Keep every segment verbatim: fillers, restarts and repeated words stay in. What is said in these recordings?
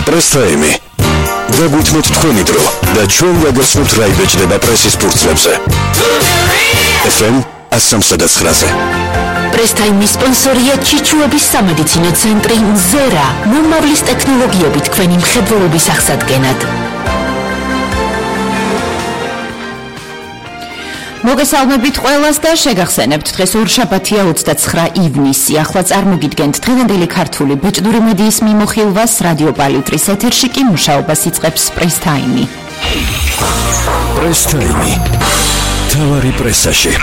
Press Time. Დაგვითმოთ თქვენი დრო და ჩვენ გაგაცნობთ რა იბეჭდება პრესის ფურცლებზე. ეფ ემ one oh nine-ზე. Press Time-ის სპონსორია ჩიჩუების სამედიცინო ცენტრი ზერა, მომავლის ტექნოლოგიებით თქვენი მხედველობის აღსადგენად. მოგესალმებით ყველას და შეგახსენებთ დღეს ორშაბათია ოცდაცხრა ივნისი. ახლა წარმოგიდგენთ დღევანდელი ქართული ბეჭდური მედიის მიმოხილვას რადიო პალიტრის ეთერში კი მუშაობას იწყებს Press Time. Press Time. თავარი პრესაში.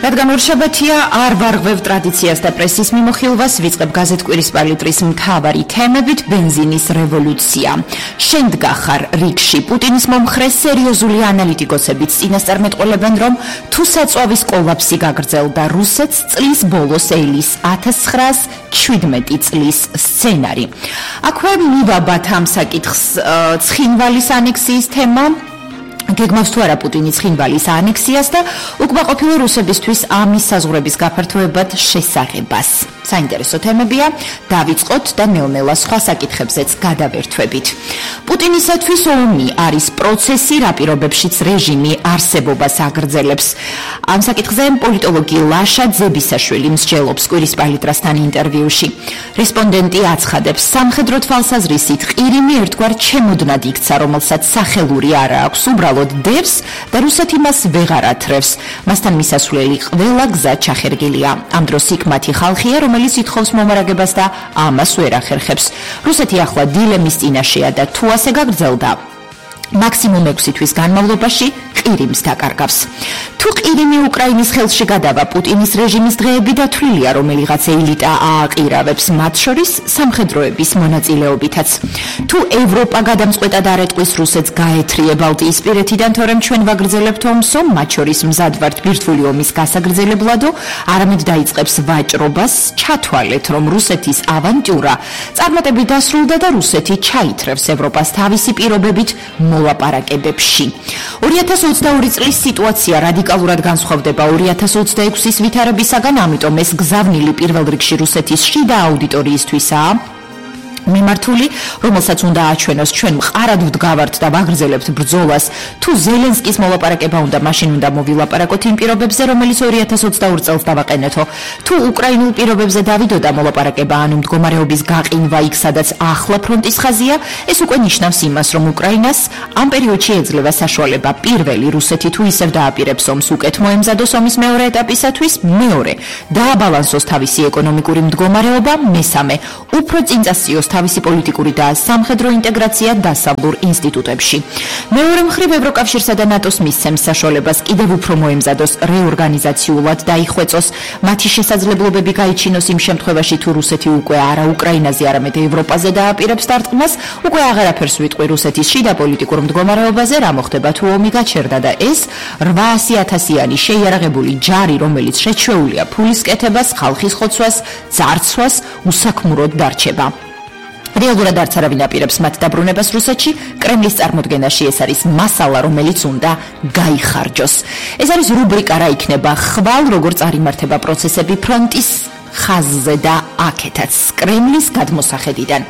რადგან ორშაბათია არ ვარღვევ ტრადიციას და პრესის მიმოხილვას, ვიწყებ გაზეთ კვირის პალიტრის მთავარი თემებით. ბენზინის რევოლუცია. შენდგა ხარ რიგში. პუტინის მომხრე სერიოზული ანალიტიკოსებიც წინასწარმეტყველებენ, რომ თუ საწვავის კოლაფსი გაგრძელდა რუსეთს, წლის ბოლოს ელის ათას ცხრაას შვიდმეტი წლის სცენარი. აქვე მივაბათ ამ საკითხს ცხინვალის ანექსიის თემა. გეგმავს თუ არა პუტინის ცხინვალის ანექსიას და უკმაყოფილო რუსებისთვის ამის საზღვრების გაფართოებად შესაღებას. საინტერესო თემებია, დავიწყოთ და ნელ-ნელა სხვა საკითხებზეც გადავერთვებით. პუტინისათვის ომი არის პროცესი, რა პირობებშიც რეჟიმი არსებობას აგრძელებს. ამ საკითხზე პოლიტოლოგი ლაშა ძებისაშვილი მსჯელობს კვირის პალიტრასთან ინტერვიუში. რესპონდენტი აცხადებს, სამხედრო თვალსაზრისით ყირიმი ერთგვარ ჩემოდნად იქცა, რომელსაც სახელური არ აქვს, უბრალოდ დევს და რუსეთი მას ვეღარ ათრევს. მასთან მისასვლელი ყველა გზა ჩახერგილია. ამ დროს იქ მათი ხალხია, რომელიც ითხოვს მომარაგებას და ამას ვერ ახერხებს. რუსეთი ახლა დილემის წინაშეა და თუ ასე გაგრძელდა, მაქსიმუმ ექვსი თვის განმავლობაში ყირიმს დაკარგავს. თუ ყირიმი უკრაინის ხელში გადავა, პუტინის რეჟიმის დღეები დათვლილია, რომელიღაც ელიტა ააყირავებს, მათ შორის სამხედროების მონაწილეობითაც. თუ ევროპა გადამწყვეტად არ ეტყვის რუსეთს გაეთრიე ბალტიისპირეთიდან, თორემ ჩვენ ვაგრძელებთ ომს, მათ შორის მზად ვართ ბირთვული ომის გასაგრძელებლადო, არამედ დაიწყებს ვაჭრობას, ჩათვალეთ, რომ რუსეთის ავანტიურა წარმატებით დასრულდა და რუსეთი ჩაითრევს ევროპას თავისი პირობებით მოლაპარაკებებში. ორი ათას ოცდაორი წლის სიტუაცია რადიკალურად განსხვავდება ორი ათას ოცდაექვსის ვითარებისაგან, ამიტომ ეს გზავნილი პირველ რიგში რუსეთის შიდა აუდიტორიისთვისაა მიმართული, რომელსაც უნდა აჩვენოს ჩვენ მყარად ვდგავართ და ვაგრძელებთ ბრძოლას. თუ ზელენსკის მოლაპარაკება უნდა, მაშინ უნდა მოვილაპარაკოთ იმ პირობებზე, რომელიც ორი ათას ოცდაორ წელს დავაყენეთო. თუ უკრაინულ პირობებზე დავიდო და მოლაპარაკება, ანუ მდგომარეობის გაყინვა იქ, სადაც ახლა ფრონტის ხაზია, ეს უკვე ნიშნავს იმას, რომ უკრაინას ამ პერიოდში ეძლევა საშუალება. პირველი, რუსეთი თუ ისევ დააპირებს ომს, უკეთ მოემზადოს ომის მეორე ეტაპისათვის, მეორე, დააბალანსოს თავისი ეკონომიკური მდგომარეობა, მესამე, უფრო წინ წასწიოს თავისი პოლიტიკური და სამხედრო ინტეგრაცია დასავლურ ინსტიტუტებში. მეორე მხრივ ევროკავშირსა და ნატოს მისცემს საშუალებას კიდევ უფრო მოემზადოს რეორგანიზაციულად დაიხვეწოს, მათი შესაძლებლობები გაიჩინოს იმ შემთხვევაში, თუ რუსეთი უკვე არა უკრაინაზე, არამედ ევროპაზე დააპირებს დარტყმას, უკვე აღარაფერს ვიტყვი რუსეთის შიდა პოლიტიკურ მდგომარეობაზე, რა მოხდება თუ ომი გაჩერდა და ეს რვაასი ათასიანი შეიარაღებული ჯარი, რომელიც შეჩვეულია ფულის კეთებას, ხალხის ხოცვას, ძარცვას, უსაქმუროდ დარჩება. რეალურად არც არავინ აპირებს მათ დაბრუნებას რუსეთში, კრემლის წარმოდგენაში ეს არის მასალა, რომელიც უნდა გაიხარჯოს. ეს არის რუბრიკა, რა იქნება ხვალ, როგორ წარიმართება პროცესები ფრონტის ხაზზე და აქეთაც კრემლის გადმოსახედიდან.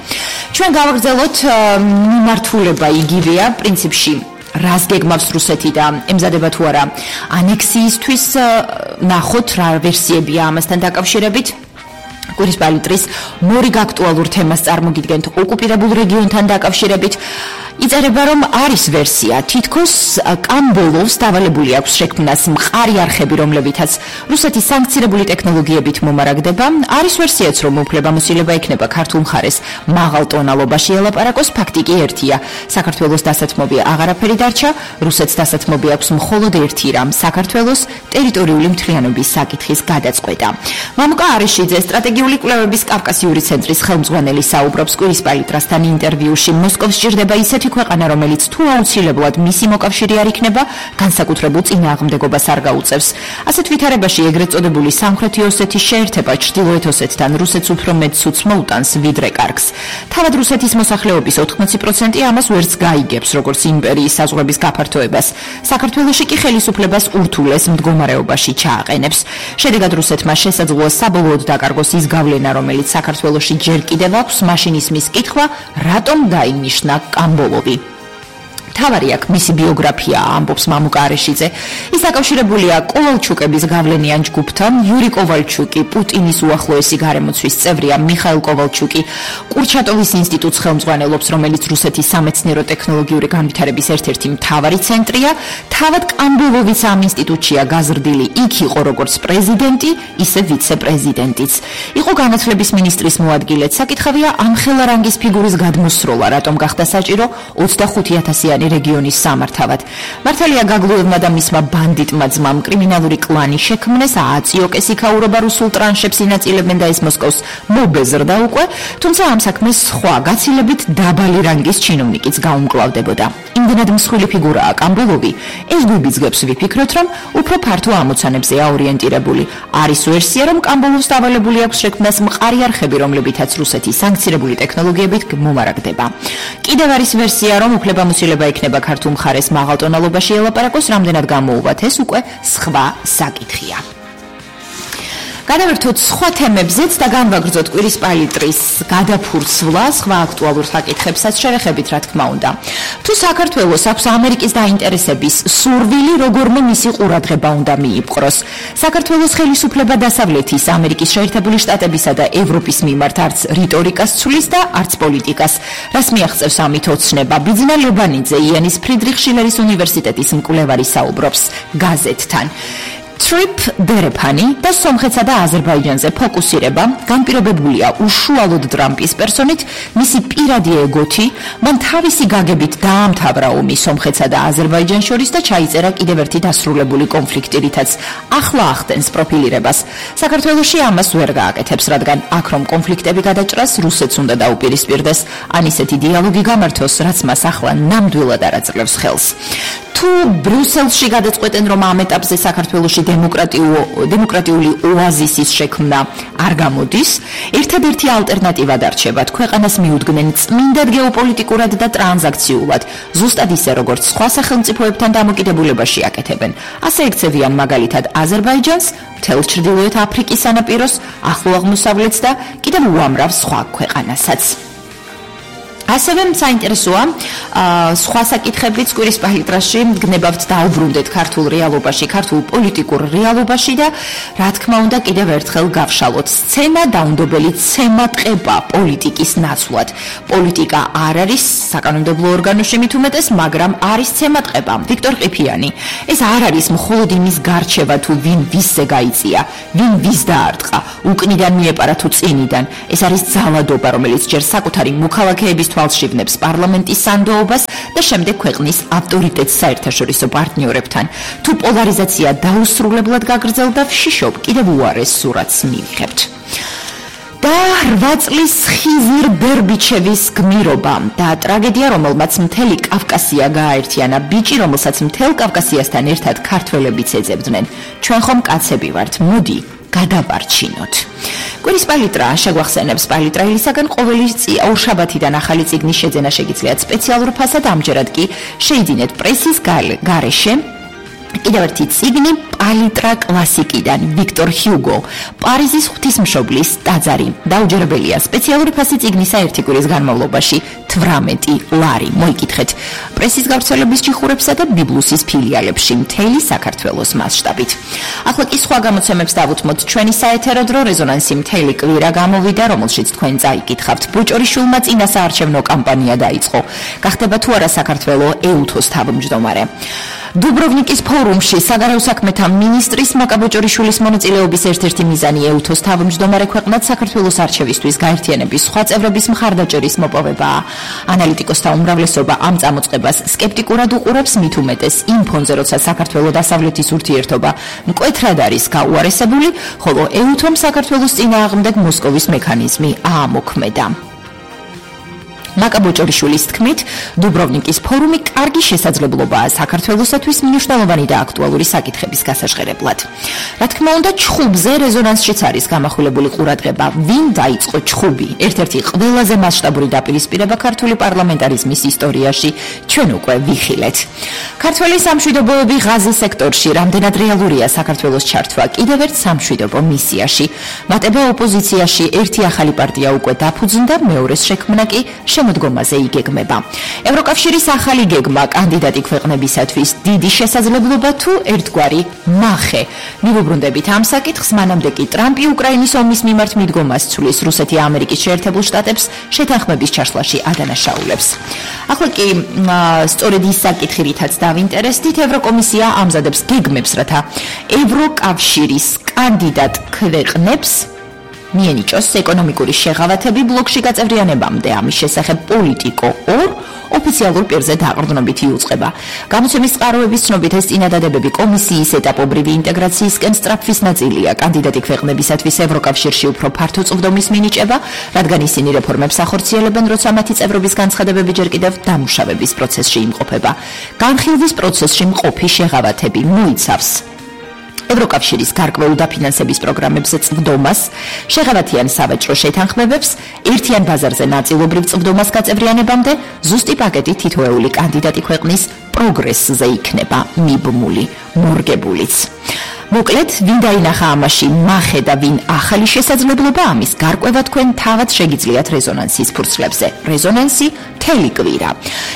ჩვენ გავაგრძელოთ მიმართულება იგივეა, პრინციპში რას გეგმავს რუსეთი და ემზადება თუ არა ანექსიისთვის, ნახოთ რა ვერსიებია ამასთან დაკავშირებით. კვირის პალიტრის მორიგ აქტუალურ თემას წარმოგიდგენთ ოკუპირებულ რეგიონთან დაკავშირებით. იწერება, რომ არის ვერსია, თითქოს კამბოლოვს დავალებული აქვს შექმნას მყარი არხები, რომლებითაც რუსეთის სანქცირებული ტექნოლოგიებით მომარაგდება. არის ვერსიაც, რომ უფლებამოსილება ექნება ქართულ მხარეს მაღალ ტონალობაში ელაპარაკოს. ფაქტი კი ერთია, საქართველოს დასათმობი აღარაფერი დარჩა, რუსეთს დასათმობი აქვს მხოლოდ ერთი რამ, საქართველოს ტერიტორიული მთლიანობის საკითხის გადაწყვეტა. მამუკა არეშიძე, სტრატეგიული კვლევების კავკასიური ცენტრის ხელმძღვანელი, საუბრობს კვირის პალიტრასთან ინტერვიუში. მოსკოვს სჭირდება ისეთი ქვეყანა, რომელიც თუ აუცილებლად მისი მოკავშირე არ იქნება, განსაკუთრებულ წინააღმდეგობას არ გაუწევს. ასეთ ვითარებაში ეგრეთ წოდებული სამხრეთი ოსეთის შეერთება ჩრდილოეთ ოსეთთან რუსეთს უფრო მეტ ცუდს მოუტანს, ვიდრე კარგს. თავად რუსეთის მოსახლეობის ოთხმოცი პროცენტი ამას ვერც გაიგებს, როგორც იმპერიის საზღვრების გაფართოებას. საქართველოში კი ხელისუფლებას ურთულეს მდგომარეობაში ჩააყენებს. შედეგად რუსეთმა შესაძლოა საბოლოოდ დაკარგოს ის ის გავლენა, რომელიც საქართველოში ჯერ კიდევ აქვს, მაშინ ისმის კითხვა, რატომ დაინიშნა კამბოლოვი. თავარი აქ მისი ბიოგრაფია, ამბობს მამუკა არეშიძე. ის დაკავშირებულია კოვალჩუკების გავლენიან ჯგუფთან. იური კოვალჩუკი, პუტინის უახლოესი გარემოცვის წევრია, მიხაილ კოვალჩუკი კურჩატოვის ინსტიტუტს ხელმძღვანელობს, რომელიც რუსეთის სამეცნიერო-ტექნოლოგიური განვითარების ერთ-ერთი მთავარი ცენტრია. თავად კამბოლოვიც ამ ინსტიტუტშია გაზრდილი. იქ იყო როგორც პრეზიდენტი, ისე ვიცე-პრეზიდენტიც. იყო განათლების მინისტრის მოადგილე. საკითხავია ამ ხელარანგის ფიგურის გადმოსროლა, რატომ გახდა საჭირო ოცდახუთი ათასიანი რეგიონის სამართავად. მართალია გაგლუევმა და მისმა ბანდიტმა ძმამ კრიმინალური კლანი შექმნეს, ააწიოკეს იქაურობა რუსულ ტრანშებს ინაწილებენ და ეს მოსკოვს მობეზრდა უკვე, თუმცა ამ საქმეს სხვა გაცილებით დაბალი რანგის ჩინოვნიკიც გაუმკლავდებოდა. იმდენად მსხვილი ფიგურაა კამბოლოვი, ეს გვიბიძგებს ვიფიქროთ, რომ უფრო ფართო ამოცანებზეა ორიენტირებული. არის ვერსია, რომ კამბოლოვს დავალებული აქვს შექმნას მყარი არხები, რომლებითაც რუსეთის სანქცირებული ტექნოლოგიებით მომარაგდება. კიდევ არის ვერსია, რომ უფლებამოსილება იქნება ქართულ მხარეს მაღალ ტონალობაში ელაპარაკოს, რამდენად გამოუვათ ეს უკვე სხვა საკითხია. გადავერთოთ სხვა თემებზეც და განვაგრძოთ კვირის პალიტრის გადაფურცვლა, სხვა აქტუალურ საკითხებსაც შევეხებით, რა თქმა უნდა. თუ საქართველოს აქვს ამერიკის დაინტერესების სურვილი, როგორმე მისი ყურადღება უნდა მიიპყროს. საქართველოს ხელისუფლება დასავლეთის, ამერიკის შეერთებული შტატებისა და ევროპის მიმართ არც რიტორიკას ცვლის და არც პოლიტიკას. რას მიაღწევს ამით ოცნება? ბიძინა ლებანიძე, იანის ფრიდრიხ შილერის უნივერსიტეტის მკვლევარი საუბრობს გაზეთთან. Trip დერეფანი და სომხეთსა და აზერბაიჯანზე ფოკუსირება განპირობებულია უშუალოდ ტრამპის პერსონით, მისი პირადი ეგოთი, მან თავისი გაგებით დაამთავრა ომი სომხეთსა და აზერბაიჯანს შორის და ჩაიწერა კიდევ ერთი დასრულებული კონფლიქტი, რითაც ახლა ახდენს პროფილირებას. საქართველოში ამას ვერ გააკეთებს, რადგან აქ რომ კონფლიქტები გადაჭრას, რუსეთს უნდა დაუპირისპირდეს, ან ისეთი დიალოგი გამართოს, რაც მას ახლა ნამდვილად არ აძლევს ხელს. თუ ბრიუსელში გადაწყვეტენ, რომ ამ ეტაპზე საქართველოში დემოკრატიული ოაზისის შექმნა არ გამოდის, ერთადერთი ალტერნატივა დარჩებათ, ქვეყანას მიუდგნენ წმინდად გეოპოლიტიკურად და ტრანზაქციულად, ზუსტად ისე, როგორც სხვა სახელმწიფოებთან დამოკიდებულებაში აკეთებენ. ასე ექცევიან მაგალითად აზერბაიჯანს, მთელ ჩრდილოეთ აფრიკის სანაპიროს, ახლო აღმოსავლეთს და კიდევ უამრავ სხვა ქვეყანასაც. ასევე საინტერესოა სხვა საკითხებიც კვირის პალიტრაში გნებავთ დაუბრუნდეთ ქართულ რეალობაში, ქართულ პოლიტიკურ რეალობაში და რა თქმა უნდა კიდევ ერთხელ გავშალოთ. სცენა დაუნდობელი ცემა ტყება პოლიტიკის ნაცვლად. პოლიტიკა არ არის საკანონმდებლო ორგანოში მით უმეტეს, მაგრამ არის ცემა ტყება. ვიქტორ ყიფიანი. ეს არ არის მხოლოდ იმის გარჩევა თუ ვინ ვისზე გაიწია, ვინ ვის დაარტყა, უკნიდან მიეპარა თუ წინიდან. ეს არის ძალადობა, რომელიც ჯერ საკუთარი მოქალაქეების თვალშივნებს პარლამენტის სანდოობას და შემდეგ ქვეყნის ავტორიტეტს საერთაშორისო პარტნიორებთან. თუ პოლარიზაცია დაუსრულებლად გაგრძელდა, ვშიშობ კიდევ უარეს სურათს მივიღებთ. და რვა წლის ხიზირ ბერბიჩევის გმირობა და ტრაგედია, რომელმაც მთელი კავკასია გააერთიანა, ბიჭი, რომელსაც მთელ კავკასიასთან ერთად ქართველებიც ეძებდნენ. ჩვენ ხომ კაცები ვართ, მოდი გადავარჩინოთ. კვირის პალიტრა შეგვახსენებს პალიტრაილისაგან ყოველი ორშაბათიდან ახალი წიგნის შეძენა შეგიძლიათ სპეციალურ ფასად, ამჯერად კი შეიძინეთ პრესის გარეშე კიდევ ერთი წიგნი პალიტრა კლასიკიდან, ვიქტორ ჰიუგო, პარიზის ღვთისმშობლის ტაძარი. დაუჯერებელია სპეციალური ფასი წიგნისა ერთი კვირის განმავლობაში თვრამეტი ლარი. მოიკითხეთ პრესის გავრცელების ჯიხურებსა და ბიბლუსის ფილიალებში მთელი საქართველოს მასშტაბით. ახლა კი სხვა გამოცემებს დავუთმოთ. ჩვენი საეთერო დრო რეზონანსი მთელი კვირა გამოვიდა, რომელშიც თქვენ წაიკითხავთ. ბოჭორიშვილმა წინა საარჩევნო კამპანია დაიწყო. გახდება თუ არა საქართველო ეუთოს თავმჯდომარე. დუბროვნიკის ფორუმში საგარეო საქმეთა მინისტრის მაკა ბოჭორიშვილის მონაწილეობის ერთ-ერთი მიზანი ეუთოს თავმჯდომარე ქვეყნად საქართველოს არჩევისთვის გაერთიანების სხვა წევრების მხარდაჭერის მოპოვებაა. ანალიტიკოსთა უმრავლესობა ამ წამოწყებას სკეპტიკურად უყურებს, მით უმეტეს იმ ფონზე, როცა საქართველოს დასავლეთის ურთიერთობა მკვეთრად არის გაუარესებული, ხოლო ეუთომ საქართველოს წინააღმდეგ მოსკოვის მექანიზმი აამოქმედა. მაკა ბოჭორიშვილის თქმით, დუბროვნიკის ფორუმი კარგი შესაძლებლობაა საქართველოსთვის მნიშვნელოვანი და აქტუალური საკითხების გასაჟღერებლად. Რა თქმა უნდა, ჩხუბზე რეზონანსშიც არის გამახვილებული ყურადღება. ვინ დაიწყო ჩხუბი? ერთ-ერთი ყველაზე მასშტაბური დაპირისპირება ქართული პარლამენტარიზმის ისტორიაში ჩვენ უკვე ვიხილეთ. ქართველი სამშვიდობოები ღაზის სექტორში რამდენად რეალურია საქართველოს ჩართვა კიდევ ერთ სამშვიდობო მისიაში. მატება ოპოზიციაში ერთი ახალი პარტია უკვე დაფუძნდა, მეორეს შექმნა კი შემოდგომაზე იგეგმება. ევროკავშირის ახალი გეგმა კანდიდატი ქვეყნებისათვის დიდი შესაძლებლობა თუ ერთგვარი მახე. მივუბრუნდებით ამ საკითხს, მანამდე კი ტრამპი უკრაინის ომის მიმართ მიდგომას ცვლის, რუსეთი ამერიკის შეერთებულ შტატებს შეთანხმების ჩაშლაში ადანაშაულებს. ახლა კი სწორედ ის საკითხი, რითაც დავინტერესდით, ევროკომისია ამზადებს გეგმებს, რათა ევროკავშირის კანდიდატ ქვეყნებს მიენიჭოს ეკონომიკური შეღავათები ბლოკში გაწევრიანებამდე. ამის შესახებ პოლიტიკო ორ ოფიციალურ პირზე დაყრდნობით იუწყება. გამოცემის წყაროების ცნობით, ეს წინადადებები კომისიის ეტაპობრივი ინტეგრაციისკენ სწრაფვის ნაწილია. კანდიდატი ქვეყნებისათვის ევროკავშირში უფრო ფართო წვდომის მინიჭება, რადგან ისინი რეფორმებს ახორციელებენ, როცა მათი წევრობის განცხადებები ჯერ კიდევ დამუშავების პროცესში იმყოფება. განხილვის პროცესში მყოფი შეღავათები მოიცავს ევროკავშირის გარკვეულ დაფინანსების პროგრამებზე წვდომას, შეღავათიან სავაჭრო შეთანხმებებს, ერთიან ბაზარზე ნაწილობრივ წვდომას გაწევრიანებამდე, ზუსტი პაკეტი თითოეული კანდიდატი ქვეყნის პროგრესზე იქნება მიბმული, მორგებულიც. მოკლედ, ვინ დაინახა ამაში მახე და ვინ ახალი შესაძლებლობა, ამის გარკვევა თქვენ თავად შეგიძლიათ რეზონანსის ფურცლებზე. რეზონანსი მთელი კვირა.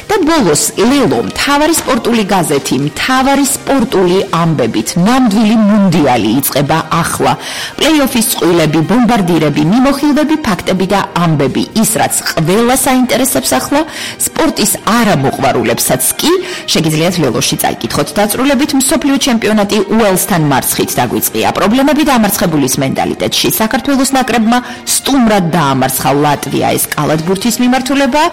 და ბოლოს ლელო, მთავარი სპორტული გაზეთი, მთავარი სპორტული ამბებით, ნამდვილი მუნდიალი იწყება ახლა. პლეი-ოფის წყვილები, ბომბარდირები, მიმოხილვები, ფაქტები და ამბები, ის რაც ყველას აინტერესებს ახლა, სპორტის არამოყვარულებსაც კი შეგიძლიათ ლელოში წაიკითხოთ დაწრულებით. მსოფლიო ჩემპიონატი უელსთან მარცხით დაგვიწყია. პრობლემები დამარცხებულის მენტალიტეტში. საქართველოს ნაკრებმა სტუმრად დაამარცხა ლატვია, ეს კალათბურთის მიმართულება.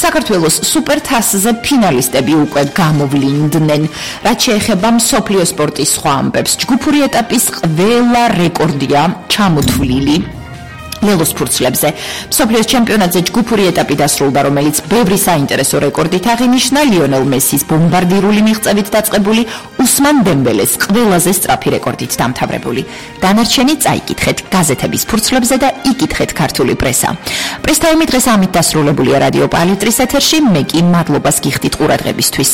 საქართველოს სუპერთასზე ფინალისტები უკვე გამოვლინდნენ. რაც შეეხება მსოფლიო სპორტის სხვა ამბებს, ჯგუფური ეტაპის ყველა რეკორდია ჩამოთვლილი. ლელოს ფურცლებზე მსოფლიოს ჩემპიონატზე ჯგუფური ეტაპი დასრულდა, რომელიც ბევრი საინტერესო რეკორდით აღინიშნა. ლიონელ მესის ბომბარდირული მიღწევით დაწყებული, უსმან დემბელეს ყველაზე სწრაფი რეკორდით დამთავრებული. დანარჩენი წაიკითხეთ გაზეთების ფურცლებზე და იკითხეთ ქართული პრესა. პრეს-ტაიმი დღეს ამით დასრულებულია რადიო პალიტრის ეთერში. მე კი მადლობას გიხდით ყურადღებისთვის.